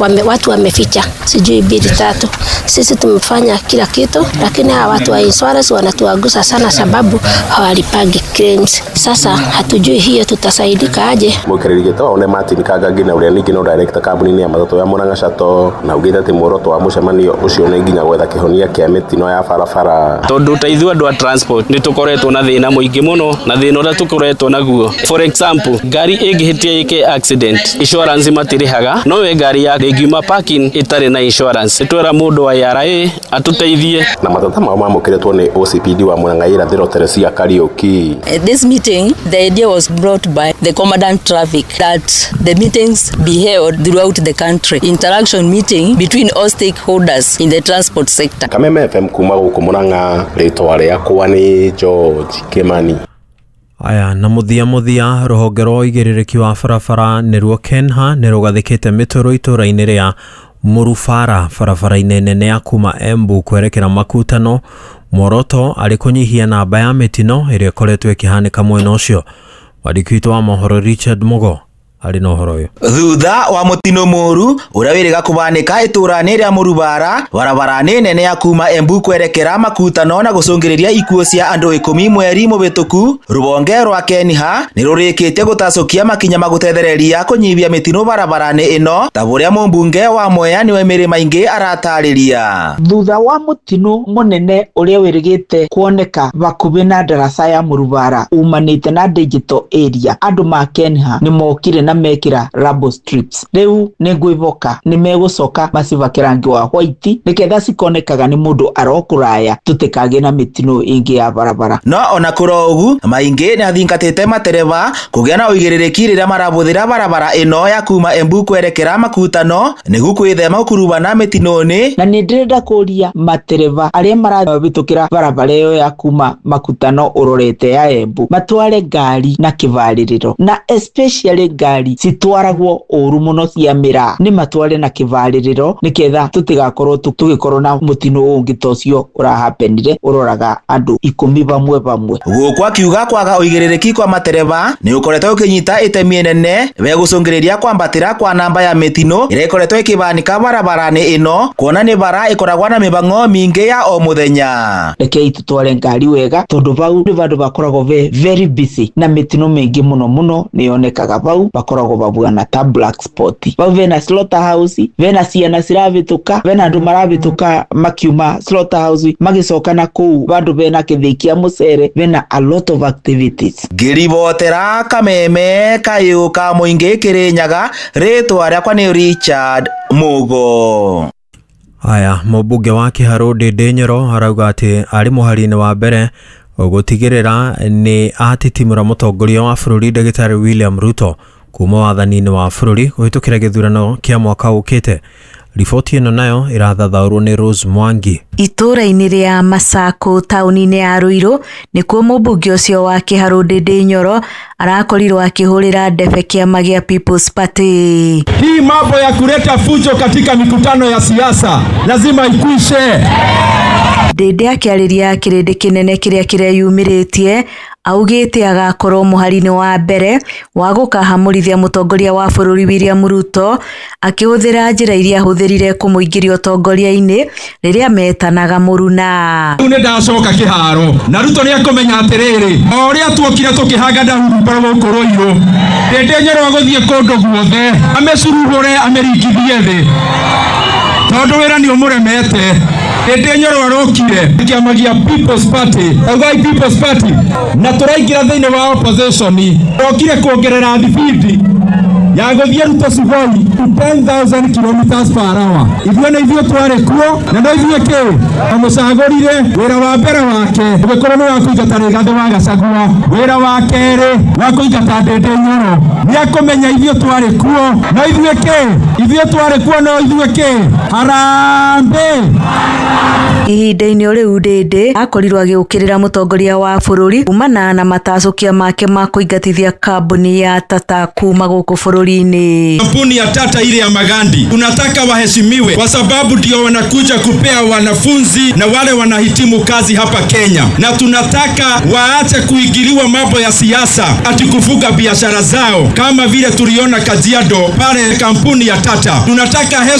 Watu wameficha sijui bili tatu. Sisi tumefanya kila kitu, lakini hawa watu wa insurance wanatuagusa sana sababu hawalipagi claims. Sasa hatujui hiyo tutasaidika aje. Mũikarĩri gĩtĩ wa Martin Kangangi na ũrĩa ningĩ no director kambuni-inĩ ya matatũ ya Murang'a Shuttle na augĩte atĩ muoroto wa mũcemanio ũcio nĩ nginya gwetha kĩhonia kĩa mĩtino ya barabara. Tondũ ta ithuĩ andũ a transport nĩ tũkoretwo na thĩna mũingĩ mũno, na thĩna ũrĩa tũkoretwo naguo, for example, ngari ĩngĩhĩtia ĩke accident, insurance matirĩhaga, no we ngari ya ĩngiuma parking ĩtarĩ na insurance, nĩtwera mũndũ wa ARA atũteithie. Na matata mao mamũkĩrĩtwo nĩ OCPD wa Murang'a Irathĩro Teresia Kariuki. This meeting, the idea was brought by the commandant traffic that the meetings be held throughout the country. Interaction meeting between all stakeholders in the transport sector. Kameme FM kuma gũkũ Murang'a, rĩtwa rĩakwa nĩ George Kimani. Aya na muthia muthia rũhonge rwa ũigĩrĩrĩki wa barabara nĩruo KENHA nĩ rũgathĩkĩte mĩtũrũ itũra-inĩ rĩa Murubara barabara-inĩ nene ya kuma Embu kwerekera Makutano, muoroto arĩ kũnyihia namba ya mĩtino ĩrĩa ĩkoretwo ĩkĩhanĩka mwena ũcio. Mwandĩki witũ wa mohoro Richard Mugo arĩ na ũhoro ũyũ. Thutha wa mũtino mũru ũrĩa wĩrĩga kũbanĩka itũra-inĩ rĩa Mũrubara barabara-inĩ nene ya kuma Embu kwerekera Makutano na gũcũngĩrĩria ikuũ cia andũ 10 mweri mũhĩtũku, rũhonge rwa KENHA nĩ rũrĩkĩtie gũtacũkia makinya ma gũtethereria kũnyihia mĩtino barabara-inĩ ĩno ta ũrĩa mũmbunge wa Mwea nĩwe Mary Maingi aratarĩria. Thutha wa mũtino mũnene ũrĩa wĩrĩgĩte kuoneka hakuhĩ na ndaraca ya Mũrubara umanĩte na digital area, andũ ma KENHA nĩ mokire na mekira rubble strips. Riu nĩ ngwĩhoka nĩ megũcoka macibake rangi wa white nĩgetha cikonekaga nĩ mũndũ arokũraya tũtikagĩe na mĩtino ĩngĩ ya barabara. No ona kũrĩ ũguo, Maingi nĩ athingatĩte matereba kũgĩa na ũigĩrĩrĩki rĩrĩa marabũthĩra barabara ĩno ya kuma Embu kwerekera Makutano nĩguo kwĩthema gũkuruhana mĩtino-inĩ. Na nĩ ndĩrenda kũria matereba arĩa marahĩtũkĩra barabara ĩyo ya kuma Makutano ũrorete ya Embu matware ngari na kĩbarĩrĩro, na especially ngari citwaragwo ũru mũno cia mĩraa, nĩ matware na kĩbarĩrĩro nĩgetha tũtigakorwo tũgĩkorwo na mũtino ũngĩ ta ũcio ũrahapenire ũroraga andũ 10 vamwe vamwe. Gũkũ akiuga kwaga ũigĩrĩrĩki kwa matereba nĩ ũkoretwo ũkĩnyita itemi inene we gũcũngĩrĩria kwambatĩra kwa namba ya mĩtino ĩrĩa ĩkoretwo ĩkĩbanĩka barabara-inĩ ĩno, kuona nĩ bara ĩkoragwo na mĩhang'o mĩingĩ ya o mũthenya. Rekei tũtware ngari wega tondũ vau nĩ vandũ bakoragwo very busy na mĩtino mĩingĩ mũno mũno nĩ yonekaga vau, bakoragwo babuana ta black spot. Vau vena slaughterhouse, vena ciana ciravĩtũka, vena andũ maravĩtũka makiuma slaughterhouse magĩcoka na kũu vandũ vena kĩthĩi kĩa mũcere, vena a lot of activities. Ngĩribotera Kameme kayũ ka mũingĩ Kĩrĩnyaga, rĩtwa rĩakwa nĩ Richard Mugo. Aya, mũmbunge wa Kĩharũ Ndĩndĩ Nyoro arauga atĩ arĩ mũhari-inĩ wa mbere gũtigĩrĩra nĩ atitimũra mũtongoria wa bũrũri Ndagĩtarĩ William Ruto kuma wathani-inĩ wa bũrũri kũhĩtũkĩra gĩthurano kĩa mwaka ũkĩte. Riboti ĩno nayo ĩrathathaũrwo nĩ Rose Mwangi. Itũra-inĩ rĩa Masako taũni-inĩ ya Ruiru nĩkuo mũmbunge ũcio wa Kĩharũ Ndĩndĩ Nyoro arakorirwo akĩhũrĩra ndebe kĩama gĩa People's Party. Hii mambo ya kuleta fujo katika mikutano ya siasa lazima ikwishe. Ndĩndĩ akĩarĩria kĩrĩndĩ kĩnene kĩrĩa kĩreyumĩrĩtie augĩte agakorwo mũhari-inĩ wa mbere wa gũkahamũrithia mũtongoria wa bũrũri William Ruto akĩhũthĩra njĩra iria ahũthĩrire kũmũingĩria ũtongoria-inĩ rĩrĩa metanaga mũruna. Rĩu nĩ ndacoka kĩharo na Ruto nĩ akũmenya atĩrĩrĩ, o ũrĩa tuokire tũkĩhanga ndahurumba gũkũ Ruiru, Ndĩndĩ Nyoro agũthiĩ kũndũ guothe amĩcuruhũre amĩringithie thĩ tondũ wĩra nĩ ũmũremete. Ndĩndĩ Nyoro arokire kĩama gĩa People's Party, augai People's Party, na tũraingĩra thĩinĩ wa opposition, rokire kuongerera thibindi ya gũthiĩ Ruto Sugoi 10,000 kilometers per hour. Ithuĩ nĩ ithuĩ twarĩ kuo na no ithuĩ kĩ amũcagũrire. Wĩra wa mbere wake ũgĩkorwo nĩ wa kũingata Rigathĩ wa Gachagua, wĩra wa kerĩ wa kũingata Ndĩndĩ Nyoro. Nĩ akũmenya ithuĩ twarĩ kuo no ithuĩ kĩ, ithuĩ twarĩ kuo no ithuĩ kĩ. Harambee. Ihinda-inĩ o rĩu Ndĩndĩ akorirwo agĩũkĩrĩra mũtongoria wa bũrũri kumana na matacũkia make ma kũingatithia kambuni ya Tata kuma gũkũ bũrũri. Bũrũri-inĩ. Kampuni ya Tata ile ya Magandi tunataka waheshimiwe kwa sababu ndio wanakuja kupea wanafunzi na wale wanahitimu kazi hapa Kenya, na tunataka waache kuingiliwa mambo ya siasa ati kufuga biashara zao kama vile tuliona Kajiado pale kampuni ya Tata. Tunataka